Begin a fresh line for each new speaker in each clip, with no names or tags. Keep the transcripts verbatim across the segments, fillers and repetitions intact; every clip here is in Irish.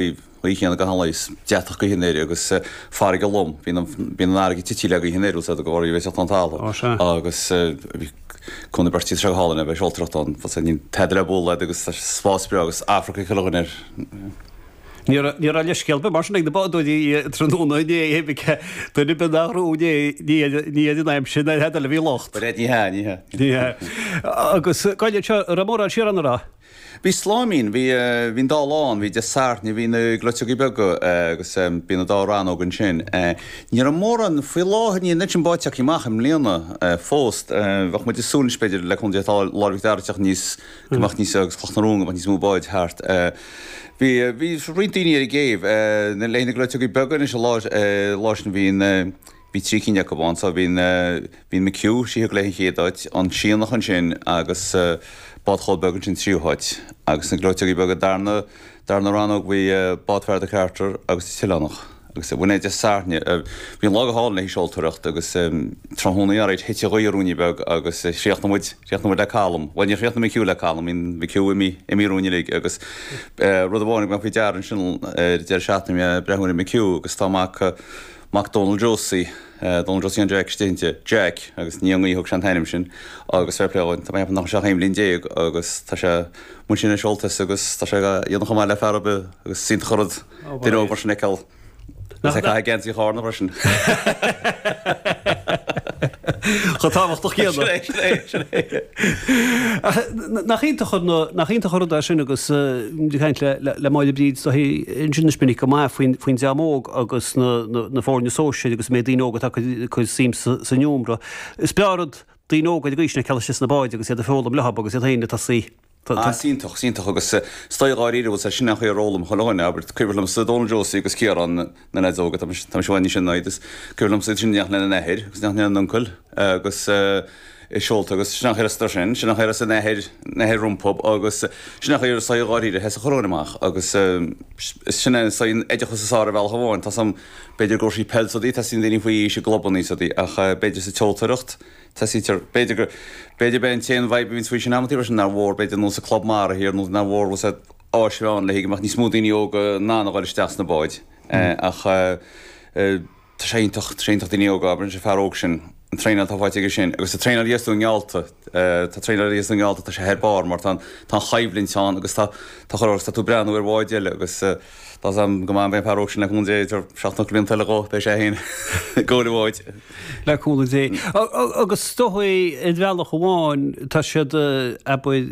Ghaoth chéanna gach aon lá is deatach gaoithe anoir agus farraige lom. Bíonn an bíonn an fharraige tite le gaoth anoir úsáid go bhfuil sé an talamh.
Ó sea.
Agus bhí Cuan na Beirtrí tá sé go hálainn a bheith seoltóireacht ann. Fós níl tada le bualadh agus tá spás breá agus Afraic ag chuile dhuine air.
Ní raibh ní raibh leithscéal ar bith mar sin ag na bádóirí tráthnóna inné duine ar bith nach raibh inné ní ní ar an aimsir ná ar eile a bhí locht.
Ní hea, ní hea.
Ní hea. Agus Gaillimh seo, raibh mórán siar ann a raibh?
Bhí sláimín, bhí bhí an dá lá ann, bhí Dé Sathairn, bhí na gleoiteogaí beaga agus bhí na dá rannóg ansin. Ní raibh mórán, faoi láthair níl an oiread sin báid tagtha amach i mbliana fós. Bheadh muid ag súil anois b'fhéidir le cúnamh Dé tá Lár Mhic Dara ag teacht níos, go mbeadh níos, agus Cloch na Rón go mbeadh níos mó báid thart. Bhí bhí roinnt daoine ar an gcéibh le haghaidh na gleoiteogaí beaga anois an lá lá sin bhí an bhí trí cinn acu ann so bhí an bhí an McHugh, sí a thug léi an chéad áit, an Sianach ansin agus Bád Chóil Beag ansin tríú háit agus na gleoiteogaí beaga darna darna rannóg bhí Bád Fear de Carter agus an tOileánach agus bhain é Dé Sathairn. Bhí an lá go hálainn le haghaidh seoltóireacht agus tráthnóna alright thit an ghaoth ruainne beag agus chríochnaigh muid chríochnaigh muid le calm. Bhuel níor chríochnaigh McHugh le calm, bhí McHugh imithe imithe romhainn uilig agus rud amháin go mbeadh faoi deara ansin ar deireadh seachtaine bhí mé ag breathnú ar McHugh agus tá mac mac Dónal Josie, Dónal Josie an Jack istigh inti, Jack, agus ní ón ngaoth a thug sé an t-ainm sin, agus fair play dhó, tá mé ag ceapadh nach bhfuil sé ach aon bhliain déag agus tá sé amuigh ansin ag seoltaíocht agus tá sé ag déanamh chomh maith le fear ar bith agus is iontach an rud duine óg mar sin a fheiceáil agus é ag caitheamh geansaí Chárna freisin.
Chomh tábhachtach céanna.
Sin é, sin é, sin é.
Ach nach iontach an, nach iontach an rud é sin agus ag caint le, le, le Máire Bríd is dóichí ansin is minic go maith faoin, faoin dream óg agus na, na, na foirne sóisir agus an méid daoine óga atá ag cur suim sa, san iomra. Is breá an rud daoine óga ag aois na cealla sna báid agus iad ag foghlaim leo agus iad féin ag tosaí.
Ah, is iontach, is iontach agus is dóigh dháiríre bhfuil sé sin an chaoi ar fhoghlaim chuile dhuine, abair, cuimhin liomsa Dónal Josie agus Ciarán, na leaids óga, tá mise i bhfad níos sine ná iad, is cuimhin liomsa iad sin ag imeacht lena n-athair agus ag imeacht lena n-uncail agus ag seolta agus sin an chaoi ar fhásadar sin, sin an chaoi ar fhás a n-athair, n-athair rompu agus sin an chaoi ar is dóigh dháiríre a sheas chuile dhuine amach agus sin é is dóigh an oideachas is fearr ar bhealach amháin, tá 's a'm b'fhéidir go raibh sí peil is rudaí, teastaíonn daoine faoi aois i gclubanna is rudaí ach b'fhéidir sa tseoltóireacht, Teastaítear, b'fhéidir gur, b'fhéidir b'é an t-aon fhadhb a bhíonns faoi sin amantaí freisin nár mhór, b'fhéidir nós an Club Mara thiar nó nár mhór bhfuil said áis a bheith ann le go mbeadh níos mó daoine óga in ann a dhul isteach sna báid. Ach tá sé iontach, tá sé iontach daoine óga, abair an fear óg sin, an traenáil atá faighte aige sin agus an traenáil a dhéanas tú i nGeallta, tá traenáil a dhéanas tú i nGeallta, tá sé thar barr mar tá an, tá an choimhlint ann agus tá, tá chur agus tá tú ag breathnú ar bháid eile agus tá 's a'm go maith beidh an fear óg sin le cúnamh Dé idir seacht nó ocht blianta eile dhó, beidh sé féin ag gabháil an bháid.
Le cúnamh Dé. Agus is dóigh ar bhealach amháin tá siad, abair,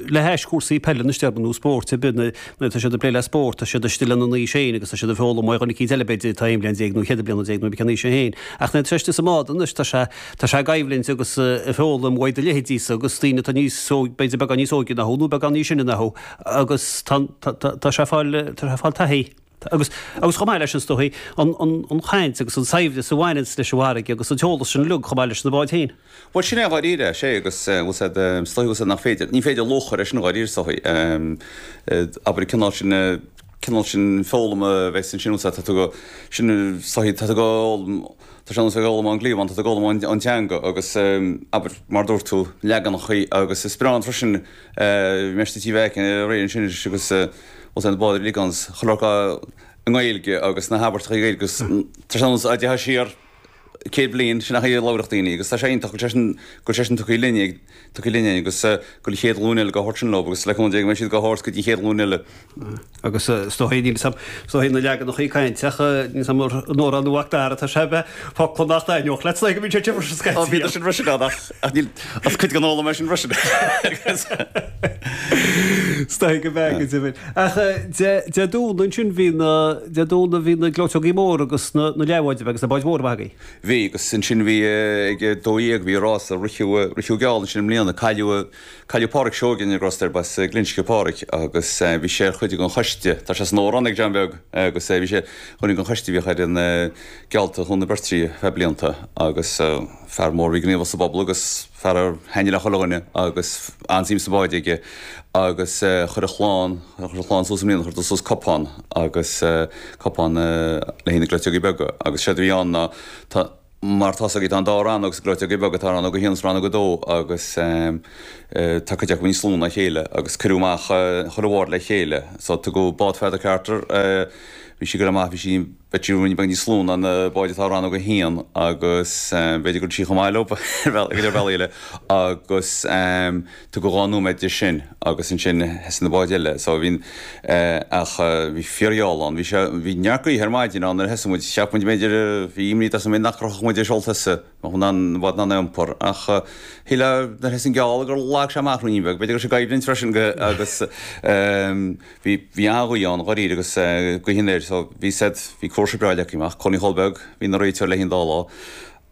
le hais cúrsaí peile anois déarfainn nó spóirt ar bith, nuair atá siad ag plé le spórt, tá siad istigh lena n-aois féin agus tá siad ag foghlaim ó dhuine eicínt eile b'fhéidir atá aon bhliain déag nó cheithre bliana déag nó cén aois é féin. Ach nuair atá sé istigh sa mbád anois tá sé, tá sé ag coimhlint agus ag foghlaim uaidh do leithéidísa agus daoine atá níos, b'fhéidir beagán níos óige ná thú nó beagán níos sine ná thú agus tá, tá, tá sé ag fáil, tá sé ag fáil taithí. Agus, agus chomh maith leis sin is dóichí, an, an, an chaint agus an saibhreas a bhaineanns leis an bhfarraige agus an t-eolas sin uilig chomh maith leis na báid féin.
Bhuel, sin é dháiríre, sé agus bhfuil said, is dóichí bhfuil said nach féidir, ní féidir luach a chur air sin dháiríre is dóichí. Abair an cineál sin, cineál sin foghlama a bheas ansin, bhfuil said, tá tú go, sin is dóichí, tá tú go fhoghlaim, tá sé ar nós ag foghlaim ón gcliabhán, tá tú ag foghlaim an teanga agus abair, mar a dúirt tú, leaganachaí agus is breá an freisin, Bhí mé istigh Tí Mheaic aréir ansin anois agus bhfuil na báid uilig ann chuile shórt i nGaeilge agus na habairteacha i nGaeilge agus tá sé ar nós dá dtéifeá siar céad bliain, sin an chaoi a labhródh daoine agus tá sé iontach go bhfuil sé sin, go bhfuil sé sin tugtha linn, tugtha linn agus go bhfuil an chéad ghlúin eile dhá thabhairt sin leo agus le cúnamh Dé go mbeidh siad dhá thabhairt go dtí an chéad ghlúin eile.
Agus is dóigh, níl 'fhios a'm, is dóigh na leaganachaí cainte ach níl 'fhios a'm an Órán Mhac Dara tá sé bheith focla nach dtaitneodh leat, is dóigh go mbíonn sé freisin scaití.
Ó bhíodar sin freisin ann ach ach níl ach cuid den fhoghlaim é sin freisin.
Is dóigh go mbeadh go deimhin. Ach Dé Dé Domhnaigh ansin bhí na Dé Domhnaigh bhí na gleoiteogaí móra agus na na leathbháid agus na báid mhóra maith agaibh.
Bhí agus ansin bhí ag a dó dhéag bhí rása ritheadh ritheadh geall ansin i mbliana cailleadh Cailleadh Páraic Seoige in Gros ar b'as Glinsce Páraic agus bhí sé ar chuid den choiste, tá sé san Órán ag John Beag, agus bhí sé ar chuid den choiste a bhíodh ar an Geallta Chuan na Beirtrí feadh blianta agus fear mór a bhí gníomhach sa bpobal agus fear a thaitnigh le chuile dhuine agus an-suim sna báid aige agus chuir a chlann, chuir a chlann suas i mbliana, chuir suas cupán agus cupán le haghaidh na gleoiteogaí beaga agus séard a bhí ann ná tá. Mar tá tá an dá rannóg sa Gleoiteogaí Beaga, tá rannóg a haon is rannóg a dó agus tá cuid acu níos lú ná a chéile agus cuireadh amach chuile bhád le chéile. So tugadh bád Pheadar Carter, bhí sí go maith, bhí sí b'fhéidir ruainne beag níos lú ná na báid atá i rannóg a haon agus b'fhéidir go raibh sí chomh maith leo ar bhealaí eile agus tugadh dhá nóiméad di sin agus ansin thosaigh na báid eile. So bhí ach bhí fíorgheall ann. Bhí sé bhí neart gaoithe ar maidin ann nuair a thosaigh muid. Cheap muid b'fhéidir bhí imní as an nach rachadh muid ar seolta thosaigh, bheadh an an bád in ann a iompar. Ach shílfeá nuair a thosaigh an geall gur lag sé amach ruainne beag. B'fhéidir go raibh sé ag coimhlint freisin go agus bhí bhí an-ghaoth ann dháiríre agus gaoth anoir so bhí said bhí cúrsa breá leagtha amach. Connie Chóil Beag bhí ina réiteoir léi an dá lá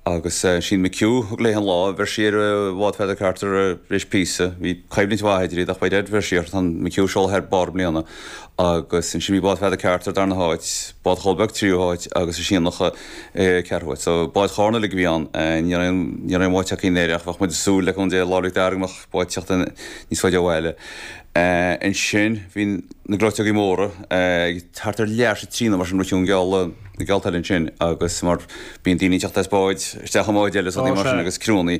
agus sí McHugh thug léi an lá, bheir sí ar bhád Pheadar Carter tar éis píosa, bhí coimhlint mhaith idir iad ach by dead bheir sí air, tá McHugh seolta thar barr i mbliana agus ansin bhí bád Pheadar Carter darna háit, bád Chóil Beag tríú háit agus an Sianach ceathrú háit. So báid Chárna uilig a bhí ann, ní raibh ní raibh aon bhád tagtha i nDoire ach bheadh muid ag súil le cúnamh Dé lá 'le Dara go mbeadh báid ag teacht níos faide abhaile. Ansin bhí na gleoiteogaí móra ag thart ar leath tar éis a trí nó mar sin rith an geall na geallta eile ansin agus mar bíonn daoine ag teacht as báid isteach i mbáid eile is rudaí mar sin agus criúnnaí.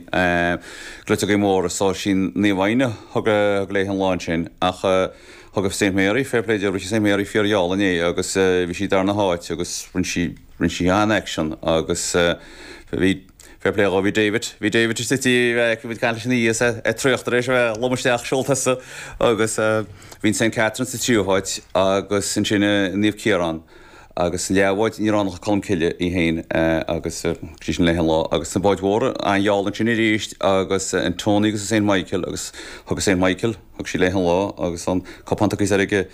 Gleoiteogaí móra so sin Naomh Éanna thug thug léi an lá ansin ach thug Saint Mary fair play di rith Saint Mary fíorgheall inné agus bhí sí darna háit agus rinne sí rinne sí an-action agus bhí Fair play dhó, bhí David, bhí David istigh tí, bhí muid ag caint leis ina dhiaidh is é ag traochadh tar éis a bheith lom isteach seolta thosaigh agus bhí an Saint Catherine sa tríú háit agus ansin Naomh Ciarán agus an leathbhád ní raibh ann ach Colmcille í féin agus thug sí sin léi an lá agus sna báid mhóra an-gheall ansin arís agus an Tony agus an Saint Michael agus thug an Saint Michael, thug sí léi an lá agus an cupán tugtha soir ag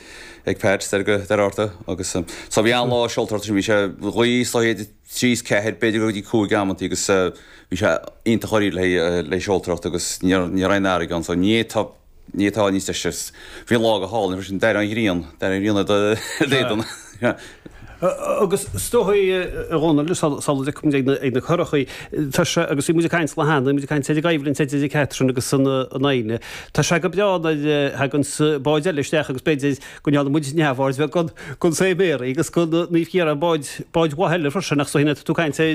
ag Pat soir go Doire Fhatharta agus so bhí an-lá seoltóireachta sin, bhí sé gaoth is dóigh trí is ceathair, b'fhéidir go dtí cúig amantaí agus bhí sé iontach dháiríre le seoltóireacht agus ní raibh aon fharraige ann so ní fhéadfá, ní fhéadfá níos deise. Bhí an lá go hálainn freisin, d'éirigh an ghrian, d'éirigh an ghrian ar d'éadan.
Agus is dóigh, a Dhónaill, sula dtiocfaidh muid ag na curachaí, tá sé, agus bhí muid ag caint lá cheana, bhí muid ag caint ar an gcoimhlint idir Catherine agus an Fhoighne, tá sé go breá nuair a thaganns báid eile isteach agus b'fhéidir go ndearna muid neamhaird bheag den den Saint Mary agus den Naomh Ciarán báid báid mhaith eile freisin ach is dóigh tá tú ag caint ar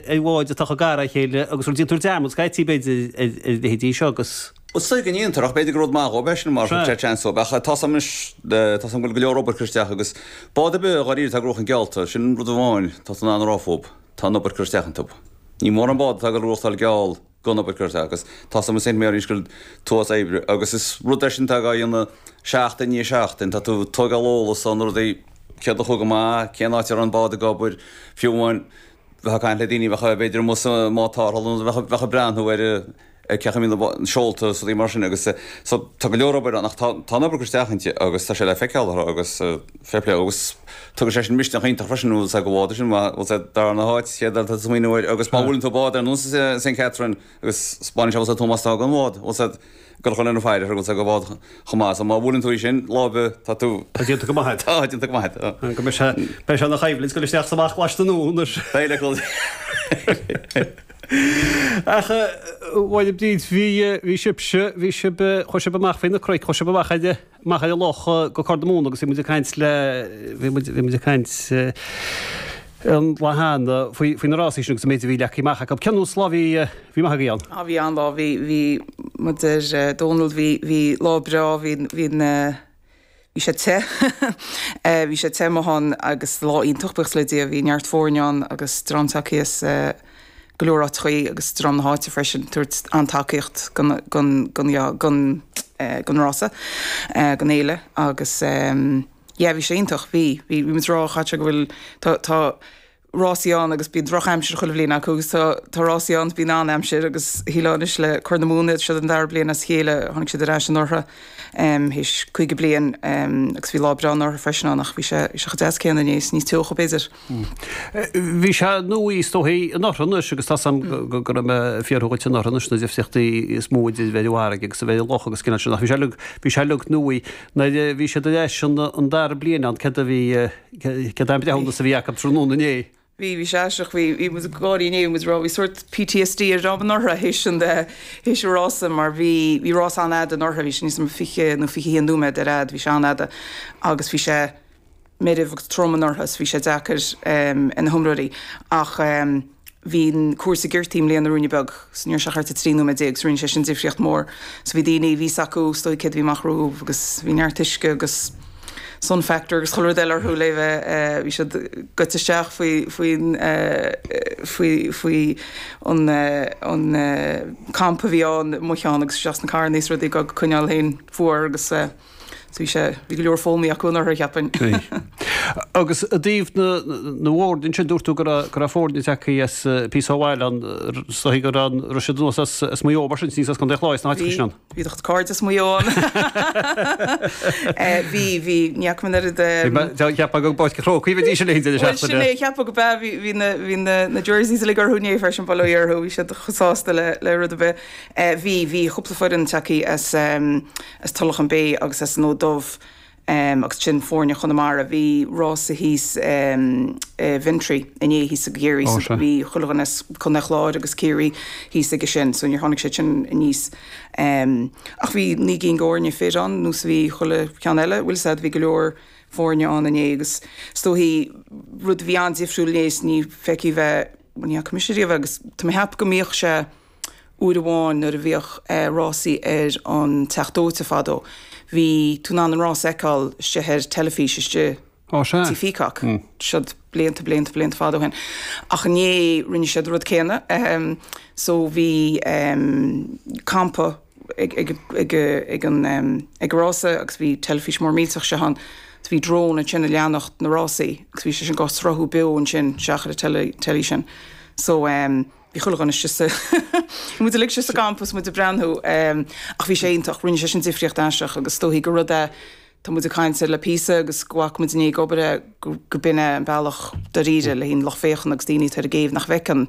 ar bháid atá chomh gar dá chéile agus rud déantar dearmad scaití b'fhéidir ar ar leithéidí seo agus.
Is dóigh go ndéantar ach b'fhéidir gur rud maith dhóibh é sin mar thug sé seans dóibh ach tá 's agam anois tá 's agam go bhfuil go leor obair curtha isteach agus bád ar bith dháiríre atá ag gnóthachan geallta sin rud amháin tá tú in ann a rá fúb tá an obair curtha isteach iontu. Ní mórán bád atá ag dul a ghnóthachtáil geall gan obair curtha isteach agus tá 's agam i Saint Mary's go bhfuil tuas oibre agus is rud é sin atá á dhéanamh seachtain i ndiaidh seachtain, tá tú ag tógáil eolas ó na rudaí, céard a chuaigh go maith, cén áit a raibh an bád ag obair, fiú amháin bheifeá ag caint le daoine a bheadh b'fhéidir amuigh sa mbád tarrthála nó bheadh bheadh ag breathnú ar ar cén chaoi a mbíonn na seolta is rudaí mar sin agus so tá go leor obair ann ach tá tá an obair curtha isteach inti agus tá sé le feiceáil orthu agus fair play agus tugann sé sin misneach iontach freisin bhfuil 's ag go bhfáda sin bhfuil sé darna háit chéad eile tá tú smaoineamh air agus má bhuaileann tú bád ar nós Saint Catherine agus 'spáineann sé bhfuil 's ag Tomás tá gan bhád bhfuil 's ag gur chun an faire bhfuil 's ag go bhád chomh maith so má bhuaileann tú í sin lá ar bith tá tú
Tá déanta go maith
Tá déanta go maith
Go mbeidh sé beidh sé ina choimhlint dul isteach is amach laistigh den anois.
Beidh le cúl.
Ach a Mháire Bríd bhí bhí sibhse bhí sibh chuaigh sibh amach faoi na cnoic chuaigh sibh amach ar amach ar an loch go Corr na Móna agus bhí muid ag caint le bhí muid bhí muid ag caint an lá cheana faoi faoi na rásaí sin agus an méid a bhí leagtha amach acu. Cén nós lá bhí bhí maith agaibh ann?
Á bhí an-lá bhí bhí mar a deir Dónal bhí bhí lá breá bhí bhí na Bhí sé te. Bhí sé te amuigh ann agus lá iontach, buíochas le Dia. Bhí neart foirne ann agus dream tagtha as go leor áiteachaí agus dream na háite freisin ag tabhairt an-tacaíocht don, don, don, don, don rása, don fhéile agus yeah bhí sé iontach. Bhí, bhí, bhí muid ag rá chaite go bhfuil, tá, tá, rásaí ann agus bíonn drochaimsir chuile bhliain acu agus tá tá rásaí ann bíonn an-aimsir agus shílfeá anois le Corr na Móna seo an dara bliain as a chéile tháinig siad ar ais anuraidh théis caoga bliain agus bhí lá breá anuraidh freisin ann ach bhí sé bhí sé chomh deas céanna inné is níos teocha b'fhéidir.
Bhí sé nuaí is dóichí anuraidh anois agus tá 's a'm go go raibh mé ag fiafraí dhuit anuraidh anois na difríochtaí is mó idir bheith ar an bhfarraige agus a bheith ar an loch agus cineál sin ach bhí sé uilig bhí sé uilig nuaí nuair a bhí siad ar ais an an dara bliain ann céard a bhí Céard é an breithiúnas a bhí acu tráthnóna inné?
Bhí, bhí sé aisteach, bhí, bhí muid ag gáirí inné, bhí muid ag rá, bhí sórt PTSD ar dream anuraidh théis an, théis an rása mar bhí, bhí rás an-fhada anuraidh, bhí sé níos mó fiche nó fiche haon nóiméad ar fhad, bhí sé an-fhada agus bhí sé meirbh agus trom anuraidh so bhí sé deacair ar na hiomróirí ach Bhí an cúrsa giortaithe i mbliana ruainne beag, so ní raibh sé thart ar trí nóiméad déag, so rinne sé sin difríocht mór. So bhí daoine, bhí 's acu is dóigh céard a bhí amach rompu agus bhí neart uisce agus sun factor agus chuile rud eile orthu le bheith, bhí siad goite isteach faoi, faoin, faoi, faoi an, an campa a bhí ann amuigh ann agus isteach sna carranna is rudaí ag coinneáil féin fuar agus So bhí sé, bhí go leor foghlamtha acu anuraidh, cheapfainn.
Agus i dtaobh na na bhfoirne ansin, dúirt tú go raibh go raibh foirne tagtha as píosa ó bhaile ann, is dóigh go raibh raibh siad anuas as as Maigh Eo mar sin, níos as Contae an Chláir, sna háiteacha sin ann.
Bhí do chuid cairde as Maigh Eo ann. Bhí, bhí, ní fhaca mé an oiread.
Cheapfá go bPáirc an Chrócaigh a bheidís uilig an deireadh
Bhuel sin
seachtaine.
é, cheapfá go b'ea, bhí bhí na bhí na na jerseys uilig orthu inné freisin, bail ó Dhia orthu, bhí siad chomh sásta le le rud ar bith. Bhí, bhí cúpla foireann tagtha as as Tulach an Bay agus as an Fhód Dubh agus sin foirne Chonamara. Bhí rása thíos i Ventry inné thíos i gCiarraí so bhí chuile dhuine as Contae Chláir agus Ciarraí thíos aige sin so níor tháinig siad sin aníos. Ach bhí naoi gcinn d'fhoirne fir ann nós a bhí chuile cheann eile, bhfuil 'fhios a'd, bhí go leor foirne ann inné agus is dóichí rud a bhí an-difriúil inné is ní feicthe bheith, bhuel ní fhaca mise riamh é agus tá mé a cheapadh go mbíodh sé Uair amháin nuair a bhíodh rásaí ar an Teach Dóite fadó, bhí tú in ann an rás a fheiceáil istigh ar teilifís istigh Tí Peacock. Siod blianta, blianta, blianta fada ó shin. Ach inné rinne siad an rud céanna. So bhí campa ag, ag, ag, ag an, ag an rása agus bhí teilifís mór millteach istigh ann. So bhí drone ansin ag leanacht na rásaí agus bhí sé sin dhá sruthú beo ansin isteach ar an teilí sin. So. Bhí chuile dhuine istigh sa, bhí muid uilig istigh sa gcampa is muid ag breathnú ach bhí sé iontach, rinne sé sin difríocht aisteach agus is dóichí gur rud é, tá muid ag caint air le píosa agus go bhfaca muid inné ag obair é go b'in é an bealach dáiríre le haghaidh an lucht féachana agus daoine atá ar an gcéibh nach bhfeiceann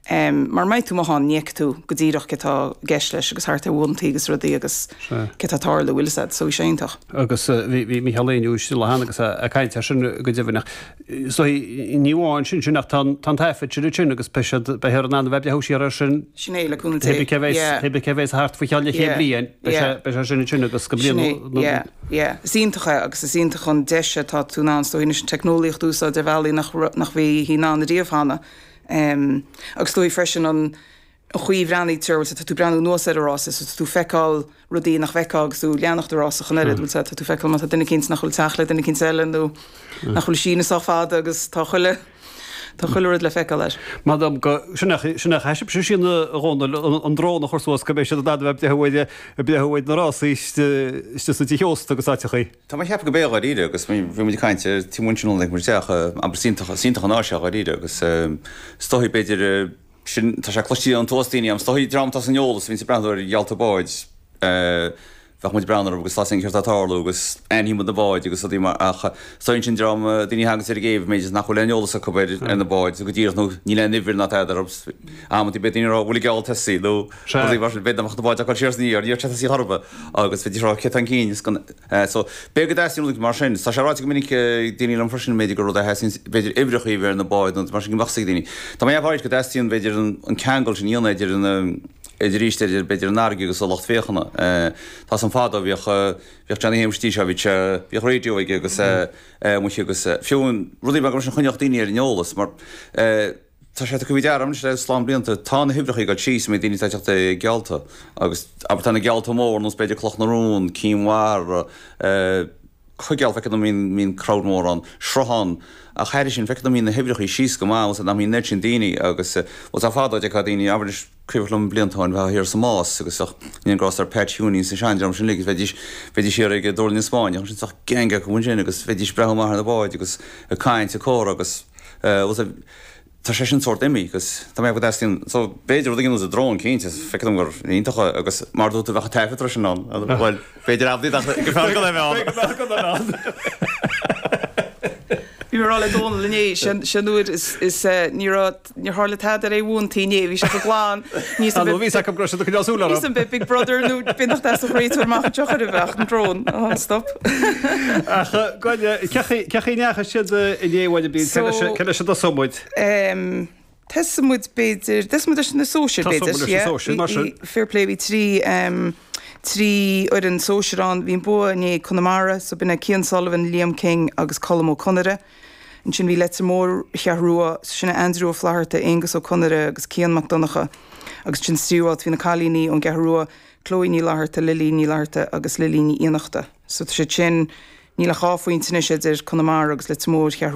mar má bhíonn tú amuigh ann ní fheicfidh tú go díreach cé tá i gceist leis agus thart ar bhuantaí agus rudaí agus cé tá ag tarlú, bhfuil 'fhios a'd, so bhí sé iontach.
Agus bhí Mícheál Éinniú istigh le cheana agus ag caint air sin go deimhin ach So ní amháin sin sin ach tá an taifead sin ansin agus beidh siad beifear in ann a bheith ag breathnú siar air sin.
Sin é, le cúnamh Dé.
Pé cé bheas pé cé bheas thart faoi cheann leathchéad bliain beidh sé beidh sé sin ansin agus go
Sin é, yeah, yeah. Is iontach é agus is iontach an deis atá tú in ann is dóigh anois an teicneolaíocht a úsáid ar bhealaí nach nach bhí in ann ariamh cheana. Agus is dóigh freisin an an chaoi a bhreathnaítear, bhfuil 's a'd, tá tú ag breathnú anuas ar an rása so tá tú ag feiceáil rudaí nach bhfeicfeá agus tú ag leanacht an rása ach an oiread, bhfuil 's a'd, tá tú ag feiceáil má tá duine eicínt nach bhfuil ag teacht le duine eicínt eile nó nach bhfuil ag síneadh sách fada agus tá chuile, tá chuile rud le feiceáil air.
M'anam go, sin é, sin é a chaithfidh sibhse sin a Dhónaill, an drón a chur suas go mbeidh siad in ann a bheith ag breathnú ar, ag breathnú ar na rásaí istigh sa tigh ósta agus áiteachaí.
Tá mé ag ceapadh go mbeidh dháiríre agus bhí muid ag caint ar tí muintir na muid isteach, abair is iontach, is iontach an áis é dháiríre agus is dóigh b'fhéidir Sin, tá sé cloiste ón tuas daoine, is dóigh, dream atá san eolas, a bhíonns ag breathnú ar gheallta báid, bheadh muid ag breathnú orthu agus tá a fhios againn céard atá ag tarlú agus aithníonn muid na báid agus rudaí mar, ach is dóigh ansin dream, daoine a thaganns ar an gcéibh, b'fhéidir nach bhfuil aon eolas acu ar, ar na báid go díreach nó níl aon uimhir ná tada orthu, amantaí beidh daoine ag rá bhfuil an geall tosaithe nó rudaí mar sin, b'fhéidir nach mbeadh na báid ag dul siar is aniar, níor tosaithe chor ar bith agus bheidís ag rá cé atá chun cinn is gan, So, b'fhéidir go dteastaíonn rud mar sin. Tá sé ráite go minic ag daoine liom freisin, b'fhéidir gur rud é a theastaíonn, b'fhéidir uimhreacha a bheith ar na báid nó mar sin go mbeadh 's ag daoine. Tá mé ag ceapadh go dteastaíonn, b'fhéidir, an ceangal sin a dhéanamh idir an, idir arís, idir, b'fhéidir, an fharraige agus an lucht féachana. Tá 's agam fadó, bhíodh, bhíodh Johnny Shéamuis dtí seo, bhí sé, bhíodh raidió aige agus amuigh agus fiú rudaí beaga mar sin a choinneodh daoine ar an eolas mar, Tá sé tugtha faoi deara anois le slám blianta, tá na huimhreacha ag dul síos, méid daoine atá ag teacht ag geallta agus abair tá na geallta mór ar nós b'fhéidir Cloch na Rón, Cinn Mhara, Coigéal, feictear dom mbíonn, mbíonn crowd mór ann, Sruthán, ach thairis sin feictear dom mbíonn na huimhreacha síos go maith agus nach mbíonn an oiread sin daoine agus bhuel tá fadó d'fheicfeá daoine, abair anois cuimhin liom blianta ó shin bheith thiar sa Más agus bheadh an grásta ar Pat Hughie is an seandream sin uilig agus bheidís, bheidís thiar ag Dúrlann na Spáinneach ansin bheadh gang acu ansin agus bheidís ag breathnú amach ar na báid agus ag caint ag comhrá agus bhuel tá sé sin sórt imithe agus tá mé ag dteastaíonn so b'fhéidir rud éigin ar nós drón cinnte feictear dom gur iontach é agus mar a dúirt tú bheadh an taifead freisin ann bhuel b'fhéidir amantaí ach go fearr gan é bheith ann.
B'fhéidir gan é bheith ann.
Bhí mé ag rá le Dónal inné sin sin uair is is ní raibh níor tharla tada ar aon bhuantaí inné bhí sé go glan ní
Tá nó bhí 's acu go raibh siad ag coinneáil súil orthu.
Ní bith Big Brother nó b'in nach deas a chroí tabhair amach anseo chuir a bheadh an drón oh stop.
Ach Gráinne cé chaoi cé chaoi a ndeachaigh siad inné uair a bhí
So
cé leis a dtosóidh muid?
Em, Tosóidh muid b'fhéidir, tosóidh muid leis na sóisir b'fhéidir.
Tosóidh muid leis na sóisir, mar sin.
Fair play, bhí trí, em, trí fhoireann sóisir ann. Bhí an bua inné ag Conamara, so b'in é Cian Sullivan, Liam King agus Colm Ó Conaire. Ansin bhí Leitir Móir Cheathrú Rua, sin Andrew Ó Flatharta, Aonghus Ó Conaire agus Cian Mac Donncha. Agus ansin sa tríú háit bhí na cailíní ón gCeathrú Rua, Chloe Ní Fhlatharta, Lily Ní Fhlatharta agus Lily Ní Fhiannachta. So tá siad sin níl ach dhá phointe anois idir Conamara agus Leitir Móir Cheathrú